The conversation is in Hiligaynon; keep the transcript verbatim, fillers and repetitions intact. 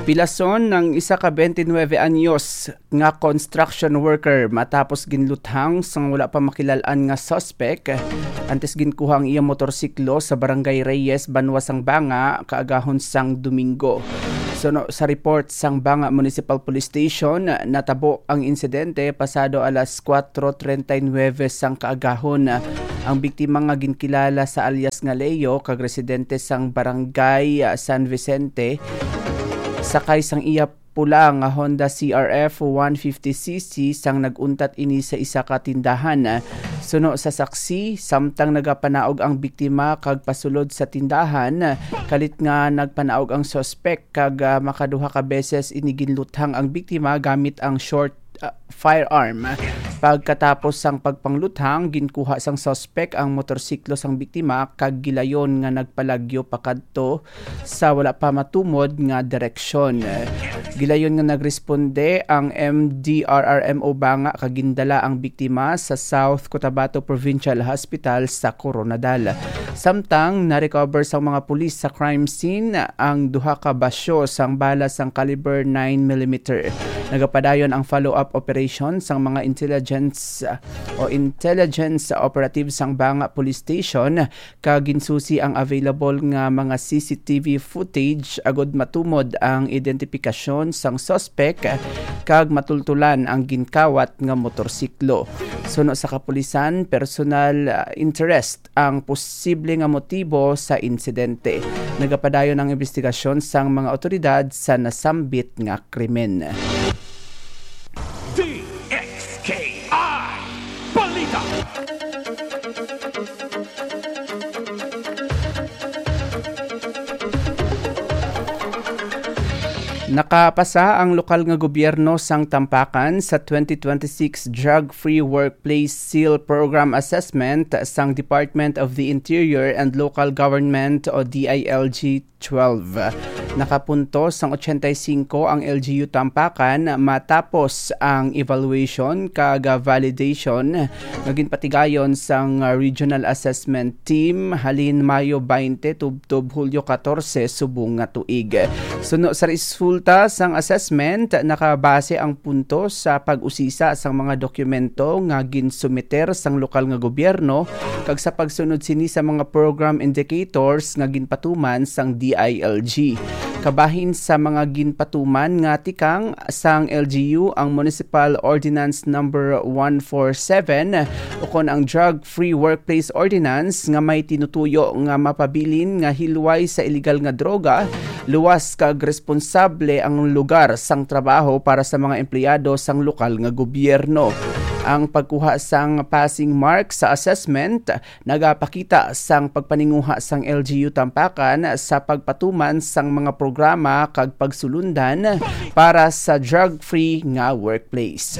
Pilason ang isa ka twenty-nine anyos nga construction worker matapos ginluthang sang wala pa makilal-an nga suspek, antes ginkuha ang iya motorsiklo sa Barangay Reyes, Banwa sang Banga, kaagahon sang Domingo. Suno sa report sang Banga Municipal Police Station, natabo ang insidente pasado alas kuwatro treinta y nueve sang kaagahon. Ang biktima nga ginkilala sa alias nga Leo, kag residente sang Barangay, ah, San Vicente, sakay sang iya pula nga Honda C R F one fifty C C sang nag-untat ini sa isa ka tindahan. Suno sa saksi, samtang nagapanaog ang biktima kag pasulod sa tindahan, kalit nga nagpanaog ang suspek kag, ah, makaduha ka beses ini ginluthang ang biktima gamit ang short, ah, firearm. Pagkatapos sang pagpangluthang, ginkuha sang suspek ang motorsiklo sang biktima kag gilayon nga nagpalagyo pakadto sa wala pa matumod nga direksyon. Gilayon nga nagresponde ang M D R R M O Banga kag gindala ang biktima sa South Cotabato Provincial Hospital sa Koronadal. Samtang na-recover sang mga pulis sa crime scene ang duha ka basyo sang bala sang caliber nine millimeter. Nagapadayon ang follow-up operation sang mga intelligence, uh, o intelligence operative sang Banga Police Station, kag ginsusi ang available nga mga C C T V footage agud matumod ang identifikasyon sang suspek kag matultulan ang ginkawat nga motorsiklo. Suno sa kapulisan, personal, uh, interest ang posible nga motibo sa insidente. Nagapadayon ang investigasyon sang mga awtoridad sa nasambit nga krimen. D X K I Balita. Nakapasa ang lokal nga gobyerno sang Tampakan sa twenty twenty-six Drug-Free Workplace Seal Program Assessment sang Department of the Interior and Local Government o D I L G twelve. Nakapuntos sang ochenta y cinco ang L G U Tampakan matapos ang evaluation kag validation nga ginpatigayon sang Regional Assessment Team halin Mayo twenty tubtob Hulyo katorse subong nga tuig. Suno sa resulta sang assessment, nakabase ang puntos sa pag-usisa sang mga dokumento nga ginsumiter sang lokal nga gobyerno kag sa pagsunod sini sa mga program indicators nga ginpatuman sang D I L G. Kabahin sa mga ginpatuman nga tikang sang L G U ang Municipal Ordinance Number one four seven ukon ang Drug-Free Workplace Ordinance nga may tinutuyo nga mapabilin nga hilway sa iligal nga droga, luwas kag responsable ang lugar sang trabaho para sa mga empleyado sang lokal nga gobyerno. Ang pagkuha sang passing mark sa assessment nagapakita sang pagpaninguha sang L G U Tampakan sa pagpatuman sang mga programa kag pagsulundan para sa drug-free nga workplace.